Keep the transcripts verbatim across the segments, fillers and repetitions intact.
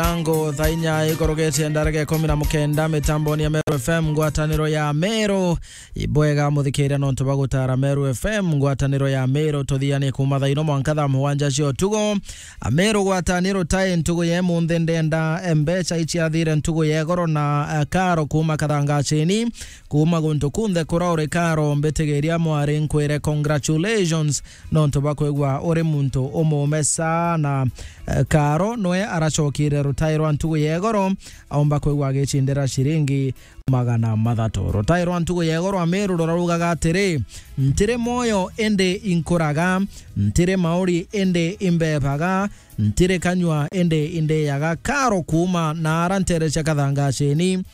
Rango thaa inya ikorogetie ndareke ikumi na mukenda mitamboni ya Meru F M, ngwataniro ya Meru. Ibwega muthikiria nontu bwa gutara Meru F M, ngwataniro ya Meru, tuthianie kuma thaa ino mwanka thaa mugwanja cia utugo. Ameru gwataniro tai ntugu ye munthi ndenda mbecha ichiathire ntugu ye goro na, eh, karo kuma kathangacini. Kuma guntu kunthe kura uri karo, mbitigiria mwari nkwire congratulations nontu bwa kwigua uri muntu umume sana. Eh, karo nwe aracokire rutai rwa ntugu ya igoro, aumba kwigua agicindira ciringi magana mathatu. Rutai rwa ntugu ya igoro Ameru rurarugaga atiri, "Ntiri mwoyo indi inkuraga, ntiri mauri indi imbebaga, ntiri kanyua indi indiyaga." Karo kuma na ara ntere cia kathangacini,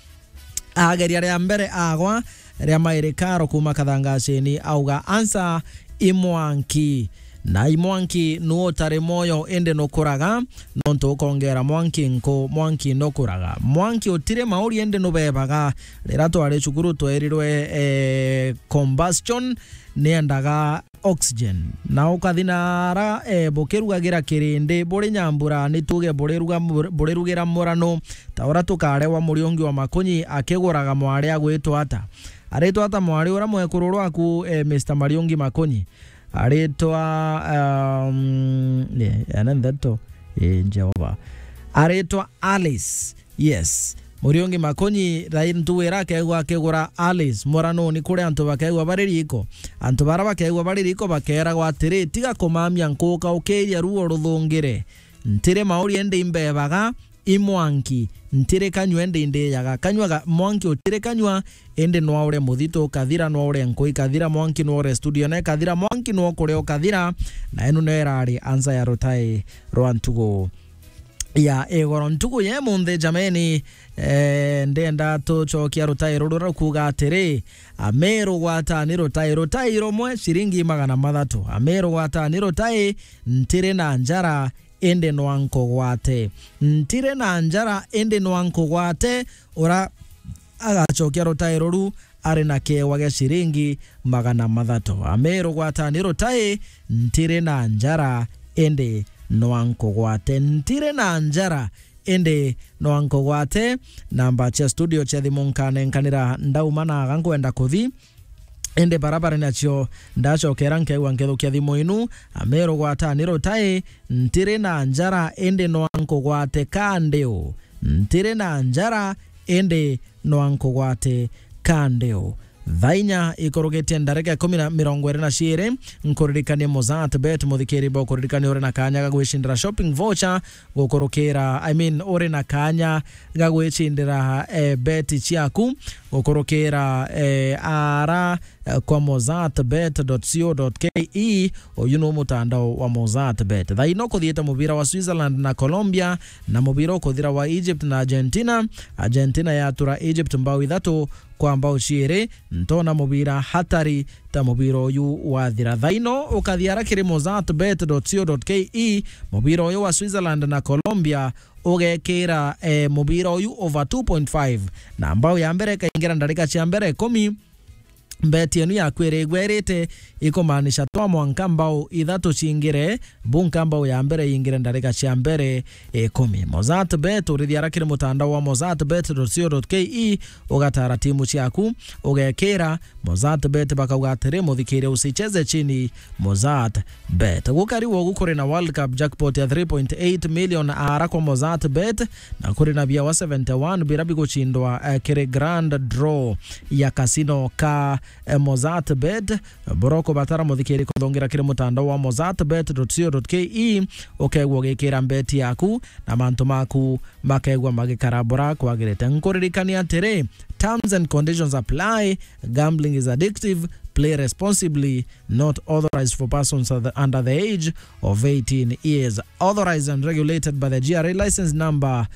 ageria ria mbere agwa, ria mairi karo kuma kathangacini auga, "Ansa i mwanki." Na i mwanki nu utari mwoyo indi nukuraga, nontu ukongera mwanki nku, mwanki nukuraga. Mwanki utiri mauri indi nubebaga. Rira twari cukuru twerirwe, eh, combustion niendaga oxygen. Na ukathi na ara, eh, bukirugagira kirindi, buri nyambura, ni tuge buriruga-, burirugira murano, ta uria tukarewa Muriungi wa Makunyi akiguraga mwari agwitwa ata? Aritwa ata mwari uria mwekuru rwaku, eh, Mister Mariungi Makunyi? Aritwa, um, yeah, ene ntheto, eh, Jehova. Aritwa Alice. Yes. Muriungi Makunyi, rai ntuwira akegwa akigura Alice, muranuni kuri antu bakegwa bari riko. Antu bara bakegwa bari riko bakeragwa atiri, "Tiga kumamia nkuka, ukiria ruo ruthungire. Ntiri mauri indi imbebaga, i mwanki, ntiri kanyua indi ndiyaga." Kanyua ga, mwanki utiri kanyua, indi nwaure muthitu ukathira, nwaure nku ikathira, mwanki nwaure studio na ikathira, mwanki nwakuria ukathira, na inu nio irari ansa ya rutai rwa ntugu ya igoro. Ntugu ye munthi jameni, eh, ndenda tucokia rutai ruru rukuga atiri, Ameru gwatani rutai, rutai rumwe ciringi magana mathatu. Ameru gwatani rutai, ntiri na njara, indi nwa nkugwate. Ntiri na njara, indi nwa nkugwate. Ura agacokia rutai ruru ari na kewa gia ciringi magana mathatu. Ameru gwatani rutai, ntiri na njara, indi nwa nkugwate. Ntiri na njara, indi nwa nkugwate. Namba cia studio cia thimu nkanenkanira ndauma na aga nkwenda kuthi. Indi bara bari nacio ndacokera nkeigua nkethukia thimu inu. Ameru gwatani rutai, ntiri na njara, indi nwa nkugwate ka ndiu. Ntiri na njara, indi nwa nkugwate ka ndiu. Thaa inya ikurugitie ndarika ikumi na mirongo iri na ciiri, nkuririkanie Mozart Bet, muthikiri bo kuririkania uri na kanya ga gwicindira shopping voucher gukurukira, I mean, uri na kanya ga gwicindira, eh, bet ciaku gukurukira, eh, ara, eh, kwa mozart bet dot co dot ke. Uyu ni mutandao wa Mozart Bet. Thaa ino kuthiite mubira wa Switzerland na Colombia, na mubira ukuthira wa Egypt na Argentina. Argentina yatura Egypt mbao ithatu kwa mbao ciiri. Ntona mubira hatari ta mubira uyu wathira. Thaa ino ukathi ara kiri mozart bet dot co dot ke, mubira uyu wa Switzerland na Colombia ugekira, eh, mubira uyu over two point five, na mbao ya mbere ikaingira ndarika cia mbere ikumi. Mbeti yenu yaku iri igwerite, ikumaanisha twa mwanka mbao ithatu cingire, bunka mbao ya mbere yingire ndarika cia mbere ikumi. Mozart Bet, urithia ara kiri mutandao wa mozart bet dot co dot ke, ugatara timu ciaku, ugekira. Mozart Bet bakauga atiri, muthikiria, usicheze chini, Mozart Bet. Gukari wogu kuri na World Cup jackpot ya three point eight million ara kwa Mozart Bet, na kuri na bia wa seventy one bira biguchindwa, eh, kiri grand draw ya casino ka, eh, Mozart Bet. Bora ukubatara muthikiri kuthongira kiri mutandao wa mozart bet dot co dot ke, ukegwa ugikira mbeti yaku na mantu maku makegwa magikara bora kwagirite. Nkuririkania atiri, terms and conditions apply. Gambling is addictive. Play responsibly. Not authorized for persons under the age of eighteen years. Authorized and regulated by the G R A license number.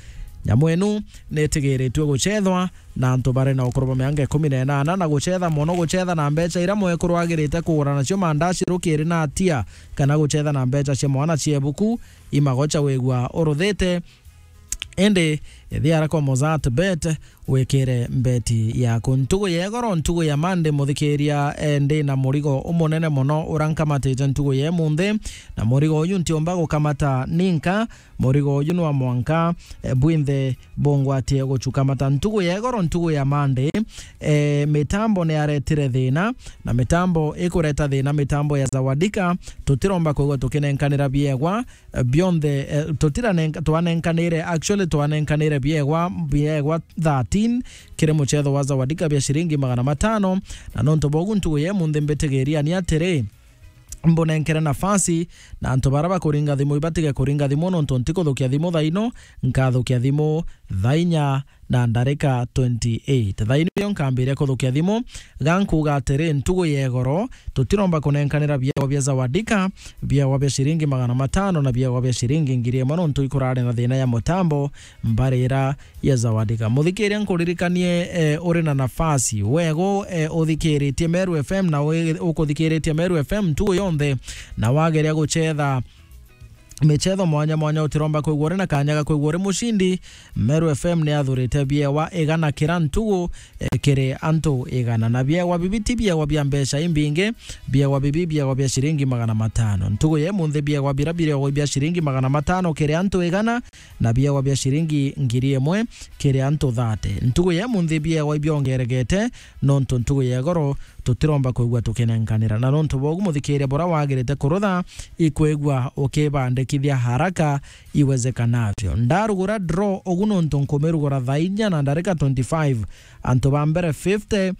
Nyamu inu nitigiritue guchethwa na antu bari na ukuru bwa miaka ikumi na inana, na guchetha mono, guchetha na mbecha iria mwekuru agirite kugura nacio mandaci rukiri na atia, kana guchetha na mbecha cia mwana cia ibuku, imagocha wigua uruthite. Indi ithiara kwa Mozart Bet, wikire mbeti yaku. Ntugu ya igoro, ntugu ya Monday, muthikiria, eh, ndi na murigo umunene mono ura nkamatite ntugu ya imunthi, na murigo uyu ntiumba gukamata ninka. Murigo uyu nwa mwanka, eh, bwinthe bungwatie guchukamata. Ntugu ya igoro, ntugu ya Monday, eh, mitambo ni aretire thina, na mitambo ikureta thina, mitambo ya Zawadika, tutiromba kwigua tukinenkanira biegwa, eh, bionthe, eh, tutiranenka-, twanenkanire, actually twanenkanire biegwa, biegwa thirteen kiri muchetho wa Zawadika bia shiringi magana matano, na nontu bogu ntugu ya imunthi mbitigiria ni atiri, mbunenkere nafasi, na antu bara bakuringa thimu ibatige kuringa thimu, nontu ntikuthukia thimu thaino, nkathukia thimu thainya na ndarika twenty-eight. Thaino iyo nkambiria kuthukia thimu, gankuuga atiri, ntugu ya igoro, tutiromba kunenkanira biegwa bia Zawadika, biegwa bia shiringi magana matano na biegwa bia shiringi ngiri imwe, nontu ikurari na thina ya mutambo, mbari ira ya Zawadika. Muthikiria, nkuririkanie, eh, uri na nafasi. Wego, eh, uthikiritie Meru F M na wi-, ukuthikiritie Meru F M ntugu yonthe, na wageria guchetha michetho mwanya mwanya, utiromba kwigua uri na kanya ga kwigua uri mucindi. Meru F M ni athurite biewa igana kira ntugu, eh, kiri antu igana. Na biewa bibi ti biewa bia mbeca imbingi, biewa bibi, biewa bia shiringi magana matano. Ntugu ya imunthi biewa bira bireogwa bia shiringi magana matano kiri antu igana, na biewa bia shiringi ngiri imwe kiri antu thate. Ntugu ya imunthi biewa ibiongeregete, nontu ntugu ya igoro tutiromba kwigua tukinenkanira. Na nontu bogu, muthikiria, bura wagirite kurutha ikwigua ukibandikithia haraka iwezekanavyo. Ndarugura draw ugu, nontu nkumirugura thaa inya na ndarika twenty-five, antu ba mbere fifty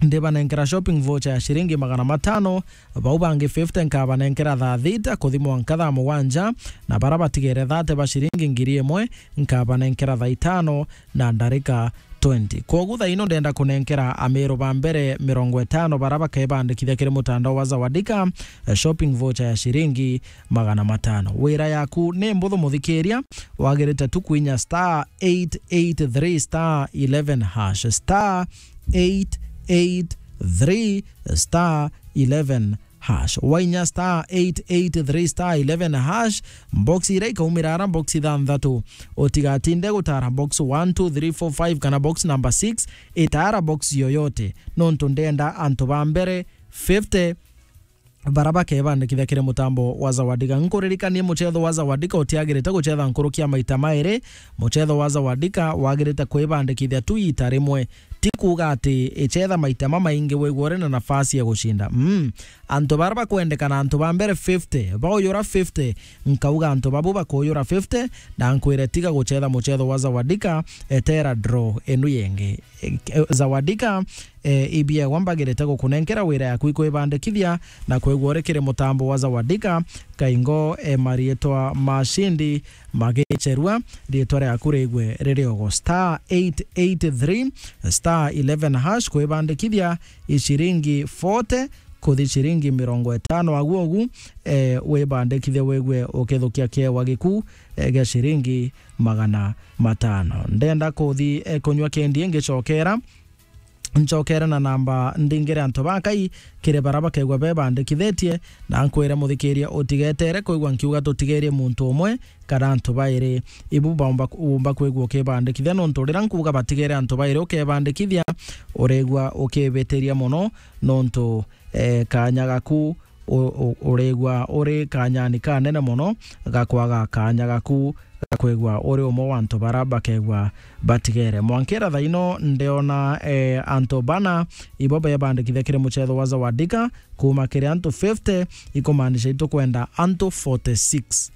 ndibanenkera shopping voucher ya shiringi magana matano, bau bangi fifty nkabanenkera thaa thita kuthi mwanka thaa mugwanja, na bara batigere thate ba shiringi ngiri imwe nkabanenkera thaa itano na ndarika twenty. Kwogu thaa ino ndenda kunenkera Ameru ba mbere mirongo itano bara bakebandikithia kiri mutandao wa Zawadika, eh, shopping voucher ya shiringi magana matano. Wira yaku ni mbuthu, muthikiria, wagirite tu kwinya star eight eight three star eleven hash, star eight eight three star eleven hash. Wainya star eight eight three star eleven hash, box iria ikaumira ara box ithanthatu. Utigatinde gutara box one, two, three, four, five kana box number six, itara box yoyote. Nontu ndenda antu ba mbere fifty bara bakebandikithia kiri mutambo wa Zawadika. Nkuririkanie muchetho wa Zawadika utiagirite guchetha nkuruki ya maita mairi. Muchetho wa Zawadika wagirite kwibandikithia tu ita rimwe. Ti kuuga ati ichetha maita mamaingi wigua uri na nafasi ya gucinda. Mm. Antu bara bakwendekana, antu ba mbere fifty, bauyura fifty, nkauga antu babu bakuyura fifty, na nkwire tiga guchetha muchetho wa Zawadika, etera draw inu yengi. E, e, Zawadika, e, ibiegwa mbagirite gukunenkera wira yaku ikwibandikithia na kwigua uri kiri mutambo wa Zawadika, kaingo, e, marietwa mashindi magicherua, rietwa riaku rigwe riri ogo. Star eight eight three star eleven hash kwibandikithia i shiringi forty kuthi shiringi mirongo itano agu ogu, e, wibandikithie wigwe ukithukia kiewa giku, e, gia shiringi magana matano. Ndenda kuthi, e, kunywa kendi ngicokera, ncokere na namba ndingire antu bakai kiri bara bakegwa bebandikithitie, na nkwire muthikiria utigetere kwigua nkiuga tutigerie muntu umwe kana antu bairi. Ibu baumba, umba kwigua ukibandikithia, nontu rira nkuuga batigere antu bairi ukebandikithia, urigua ukibitiria mono, nontu, e, kanya gaku u-, u-, urigua uri kanyani kanene mono ga kwaga kanya gaku ga kwigua uri umwe wa antu bara bakegua batigere. Mwankira thaa ino ndiona, e, antu bana ibo bebandikithia kiri muchetho wa Zawadika, kuuma kiri antu fifty, ikumaanisha itukwenda antu forty-six.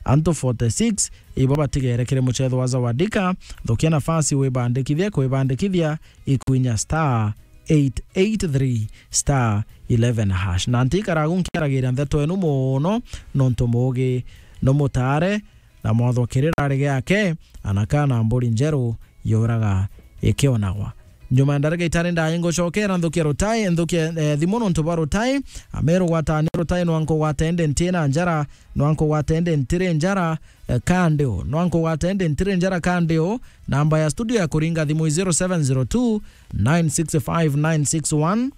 Antu forty-six ibo batigere kiri muchetho wa Zawadika. Thukia nafasi wibandikithie, kwibandikithia ikwinya star eight eight three star eleven hash. Na ntikaragu nkiaragiria ntheto enu mono, nontu muugi no mutare, na mwathwa kirira ari giake, ana kana mburi njeru yuraga ikionagwa. Nyuma ya ndarika itari ndai ngucokera nthukia rutai, nthukia, eh, thimu nontu bwa rutai. Ameru gwatani rutai, nwankugwata indi ntina njara, nwankugwata indi ntiri njara, eh, kandi u, nwankugwata indi ntiri njara kandi u. Namba ya studio ya kuringa thimu i zero seven zero two nine six five nine six one,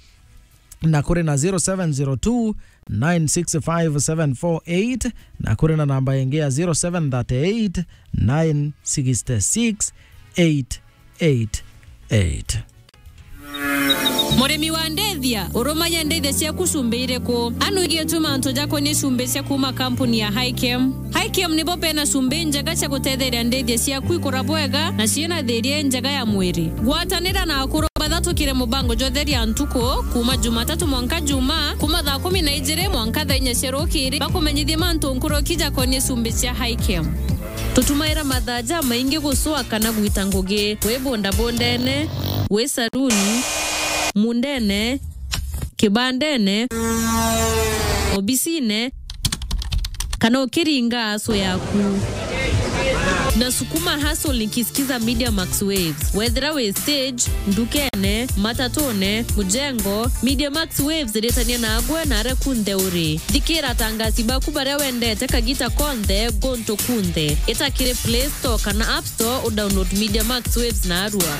na kuri na zero seven zero two nine six five seven four eight, na kuri na namba ingi ya zero seven thirty eight nine six six eight eight eight. Murimi wa ndithia, urumagia ndithia ciaku cumbi iriku? Anu igietwe mantu jakonie cumbi cia kuuma kampuni ya Highchem. Highchem nibo bena cumbi njega cia gutetheria ndithia ciaku ikura bwega na ciina thiria injega ya mwiri. Gwatanira na akuru bathatukire mubango jwa Theria Ntuku, kuuma Jumatatu mwanka Jumaa, kuuma thaa kumi na ijiri mwanka thaa inya cia rukiri, bakumenyithie mantu nkuruki jakonie cumbi cia Highchem. Tutumaira mathaa jamaingi gucua kana gwita ngugi, wi bundabundene, wi saruni, mundene, kibandene, obisine, kana ukiringa aso yaku. Na sukuma hustle nikisikiza Media Max Waves. Wethira wi stage, ndukene, matatune, mujengo, Media Max Waves iritania nagwe na aria kunthe uri. Thikira atangasi baku baria wendete kagita konthe, guntu kunthe. Ita kiri Play Store kana App Store udownload Media Max Waves narua.